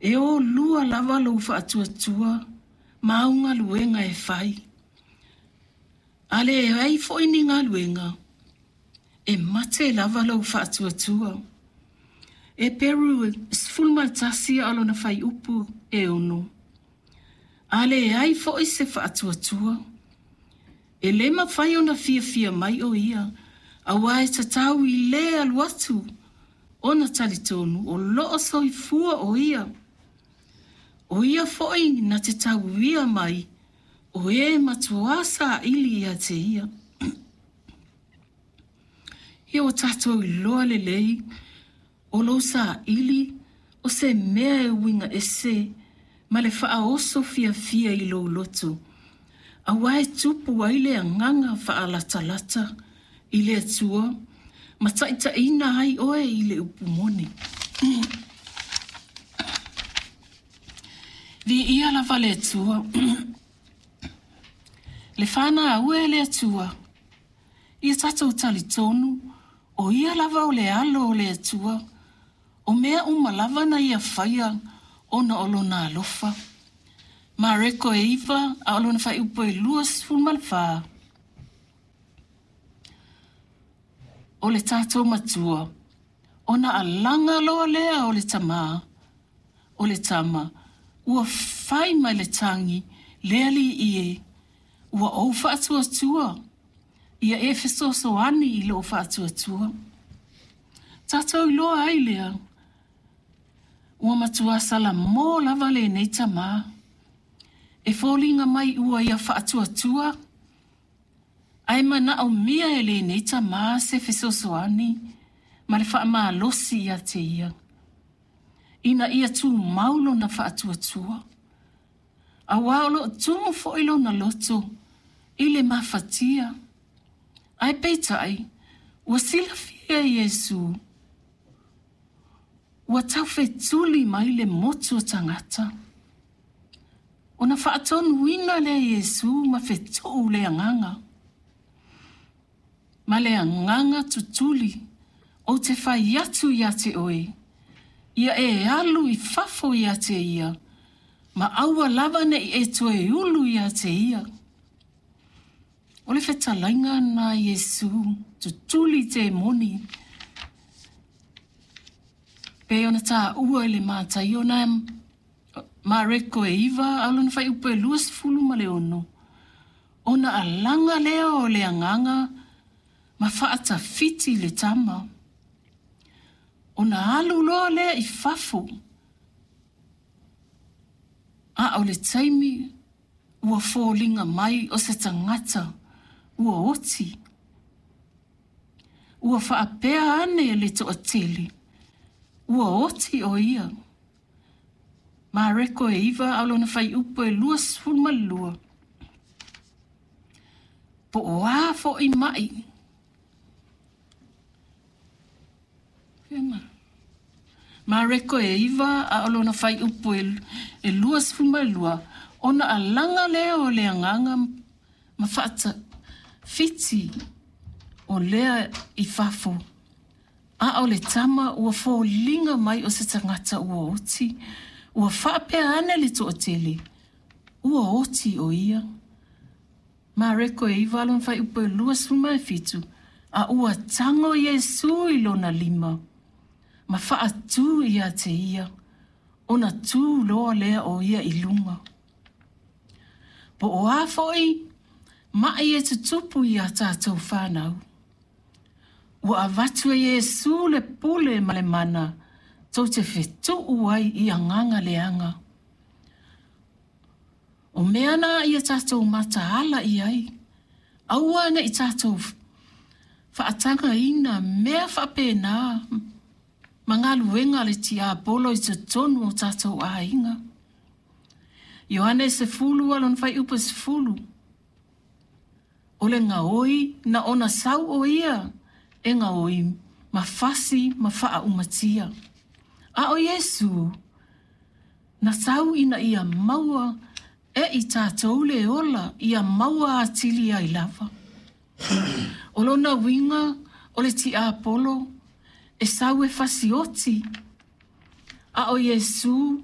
E ōlua lava lou faatuatua ma au galuega e fai. A leai foi ni galuega, e mate lava lou faatuatua. Eperu 11 a o lona fuaiupu e 6. A leai foi se faatuatua, e lē mafai ona fiafia mai ʻo ia, auā e tatau i lē alu atu ona talitonu o loo soifua ʻo ia. ʻO ia foi na te tauia mai o e matuā saili ia te ia. Ia ua tatou iloa lelei o lou saili o se mea e uiga ese ma le faaoso fiafia i lou loto, auā e tupu ai le agaga faalatalata i le Atua ma taitaiina ai oe i le upu moni. Viia lava le Atua. Le fanau e le Atua, ia tatou talitonu o ia lava o le alo o le Atua, o mea uma lava na ia faia ona o lona alofa. Mareko e 9, a o lona fuaiupu e 24. O le tatou matua, ona alaga loa lea o le tamā, o le tama, ua fai mai le tagi, Le Alii e, ua ou faatuatua, ia e fesoasoani i lou faatuatua. Tatou iloa ai lea, ua matua salamō lava lenei tamā. E foliga mai ua ia faatuatua, ae manaomia e lenei tamā se fesoasoani ma le faamalosi ia te ia, ina ia tumau lona faatuatua. Auā o loo tumu foi lona loto i le mafatia. Ae peitai, ua silafia e Iesū, ua taufetuli mai le motu o tagata. Ona faatonuina lea e Iesū ma fetuu le agaga. Ma le agaga tutuli, ou te fai atu ia te oe, ia e alu i fafo ia te ia, ma aua lava ne i e toe ulu ia te ia. O le fetalaiga lena a Iesū, tutuli temoni, pei ona taua i le Mataio na Mareko e 9, a o lona fuaiupu e 26, ona alaga lea o le agaga ma faatafiti le tama. Ona alu loa lea i fafo, a o le taimi ua foliga mai o se tagata ua oti. Ua faapea ane le toatele, ua oti ʻo ia. Mareko e 9, a o lona fuaiupu e 22. Po o a foi maʻi. Mareko e 9, a o lona fuaiupu e 22, ona alaga lea o le agaga ma faatafiti o lea i fafo. A o le tama ua foliga mai o se tagata ua oti, ua faapea ane le toatele, ua oti ʻo ia. Mareko e 9 lona fuaiupu e 27, a ua tago Iesū i lona lima, ma faatū ia te ia, ona tū loa lea o ia i luga. Po o a foi maʻi e tutupu iā tatou fanau. Ua avatu e Iesū le pule ma le mana tou te fetuu ai i agaga leaga. O mea na ia tatou mataala i ai, aua ne i tatou faatagaina mea faapena ma galuega a le tiapolo i totonu o tatou aiga. Ioane 10 a lona fuaiupu e 10. O le gaoi na ona sau ʻo ia e gaoi ma fasi ma faaumatia. A o Iesū, na sau ina ia maua e i tatou le ola ia maua atili ai lava. O lona uiga o le tiapolo e sau e fasioti, a o Iesū